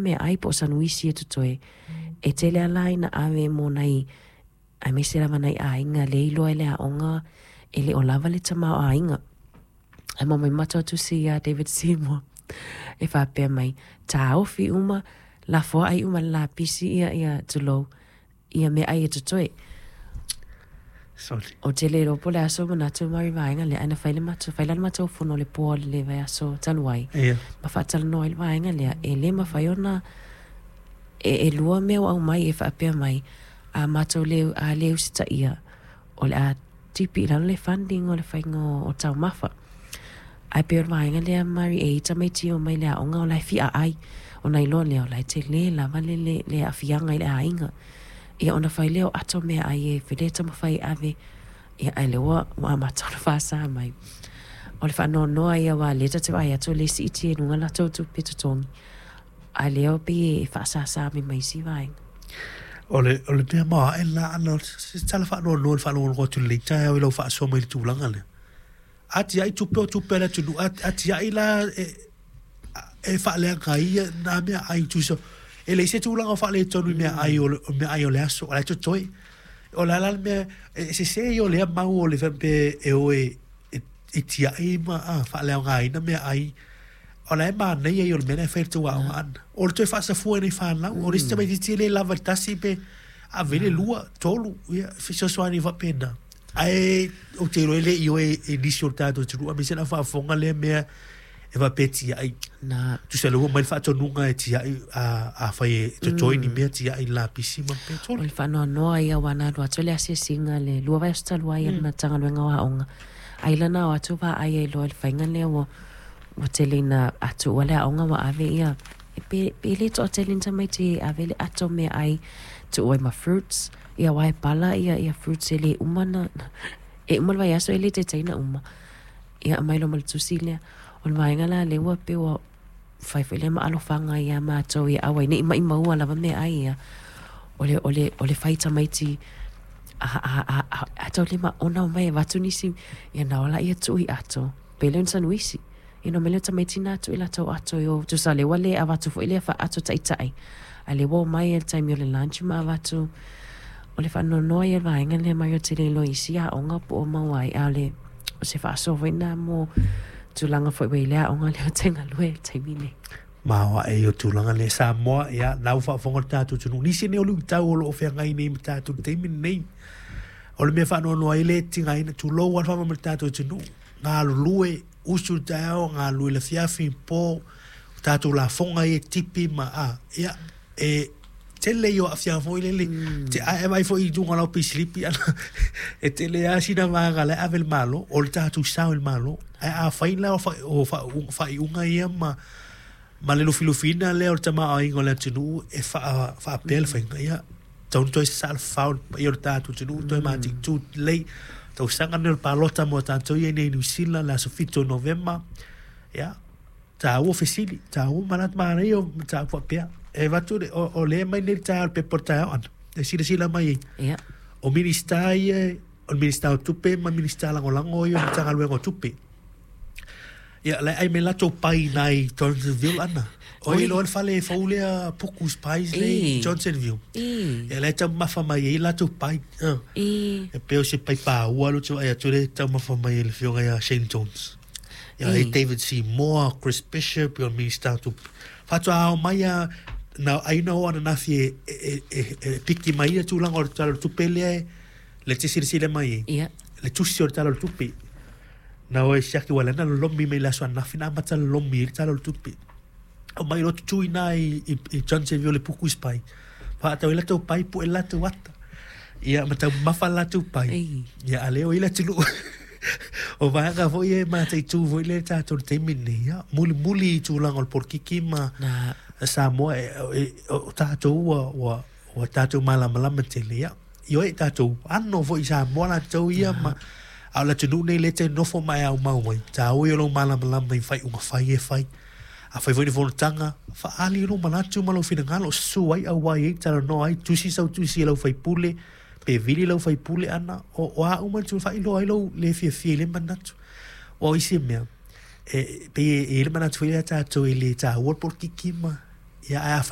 meaai po o sanuisi e totoe. E tele lava la ina ave mo nai aemaise lava nai aiga lea e iloa e le aoga e le o lava le tamaoaiga. Ae maumai matou tusi ia David Seymour e faapea mai, taofi uma, lafoai uma le lapisi ia ia tulou ia meaai e totoe. Sorry. Ou te le iloa po o le a sou manatu ma le vaega lea, ae na fai le matou, fai la le matou fono i le po o le vaiaso talu ai, Ia. ma faatalanoa ai le vaega lea, e le mafai ona e lua mea ua aumai e faapea mai, a matou le, a le usitaia, o le a tipi i lalo le funding o le faiga o taumafa. Ae pei o le vaega lea Mari e i ai tamaiti e omai i le aoga o la e fia ai, ona iloa lea o la e tele lava le, le, le aafiaga i le aiga. Ia ona fai lea o ato meaai e le taumafai e ave, ia ae lea ua ua amata ona faasa mai. O le faanoanoa ia aua o lea ta te vaai atu o lea e siitia i luga latou tupe totogi, a o lea e pei e faasasa mai ma isi vaega. O le, o le mea maoae lena Ana, o se tala faanoanoa i le faalogologo atu i lenei taeao i lau faasoa mai i le tulaga lea. A tiai tupe o tupe a le atunuu, a tiai la e, e faaleaga ai ia na meaai tusa e leai se tulaga o faaletonu i meaai o le meaai o le aso, o la e totoe. O le a la le mea e sese ia o lea mau o le faapea e o e e tiai ma faaleaogaina meaai. O la e manaia ia o le mea la e fai e le tou aoga Ana. O le toe faasafua i nai fanau, o le isi tamaitiiti e le lava i le tasi pe ave i le lua, tolu, ia fesoasoani faapena. Ae ou te iloa e le i ioe e nisi o le tatou atunuu aemaise le au faafofoga lea mea e faapea e tiai. Na. Tusa lea ua aumai le faatonuga e tiai afai e totoe ni mea tiai i le lapisi ma petoli. O le faanoanoa ia aua na alu atu le asiasiga le lua vaiaso talu ai a le Matagaluega o Aoga, ai la na o atu vaai ai loa i le faiga lea ua ua tele ina atuua le aoga ua ave ia pe, pe le toatele ni tamaiti e ave le ato meaai tuu ai ma fruits ia aua e pala ia ia fruits e le uma na e uma le vaiaso e le taitai ona uma. Ia aumai loa ma le tusi lea. O le vaega la lea ua pei ua fai foi lea ma alofaga ia matou ia aua ai ne i maʻimaua lava meaai ia. O le, o le, o le fai tamaiti a, a, a, a, a tau le maona omai e avatu nisi, ia na o laia tuu i ato, pei lea o ni sanuisi. Ia na omai lea o tamaiti na tuu i latou ato i o, tusa o lea ua le avatu foi lea faa-ato taitai, a o lea ua omai i le taimi o le lunch ma avatu. O le faanoanoa ia o le vaega lea mai ou te le iloa i isi aoga po o maua ai, a o le, o se faasoa foi lena mo tulaga foi ua i ai le aoga lea ou te galue ai i le taimi nei. Maoae ia o tulaga lea Samoa, ia, na ua faafofoga le tatou atunuu. Nisi nei o luitau o lo o feagai nei ma tatou i le taimi lenei. O le mea faanoanoa ai le tigaina, tulou lava le faamoemoe i le tatou atunuu, galulue, usu i le taeao, galulue i le afiafi, po, o tatou lafoga ia e tipi ma, a, ia, e tele ia o aafiaga foi lele, te, a e vaai foi i luga o lau peisilipi, e tele lava sina vaega o la e ave i le Malo, o le tatou sao i le Malo. Ae afai la o faaiuga ia ma ma le lufilufiina lea o le tamaoaiga o le atunuu e faapea le faiga, ia, tatau ona toe sasaa le fafao i le paia o le tatou atunuu, toe mataitu lelei. Tausaga lenei o le palota mo tatou ia i inei i Niu Sila, le aso 7 o Novema, ia, taua fesili, taua manatu, manaia o mataupu faapea. E avatu le, o lea e aumai nei le taeao i le pepa o le taeao Ana, e silasila mai ai. Ia. O Minisita ia, o le Minisita o Tupe ma Minisita Lagolago ia o le Matagaluega o Tupe. Ia, la e ai mai latou pai nai Johnsonville ana. O i loa le fale fou lea Puku's Pies le i Johnsonville. Ia la e taumafa mai ai latou pai. E pei o se pai pāua lea ou te vaai atu lea e taumafa mai e le afioga ia Shane Jones. Ia e David Seymour, Chris Bishop, ia o le Minista o Tupe. Faatoa ao mai lava na ai na o ananafi e piki mai ia tulaga o le Tala o le Tupe lea e le te silasila mai ai. Ia. Le tusi o le Tala o le Tupe. Na o e siaki ua lana lolomi mai le aso ananafi na amata lolomi ai le Tala o le Tupe. Aumai loa tutu i ina i Johnsonville le puku isi pai. Faatau ai latou pai, pue latou ata. Ia ma taumamafa latou pai. Ia a lea o i le atunuu. O vaega foi ia e mataitu foi lea tatou i le taimi lenei. Ia, mulimuli i tulaga o le polokiki ma Samoa o tatou ua tatou malamalama tele. Ia, ioe, tatou ano foi i Samoa latou ia ma a o le atunuu nei lea e te nofo ma e aumau ai, taua ia o lou malamalama i faaiuga fai e fai. A fai foi ni fonotaga, faaali lou manatu ma lou finagalo, susu ai auai ai, talanoa ai, tusi sau tusi i lau faipule, pe vili lau faipule ana, o a uma ni tulaga, faailoa ai lou le fiafia i lea manatu. Aua o isi mea, e pei e i ai le manatu foi lea tatou e le taua le polokiki ma, ia ae a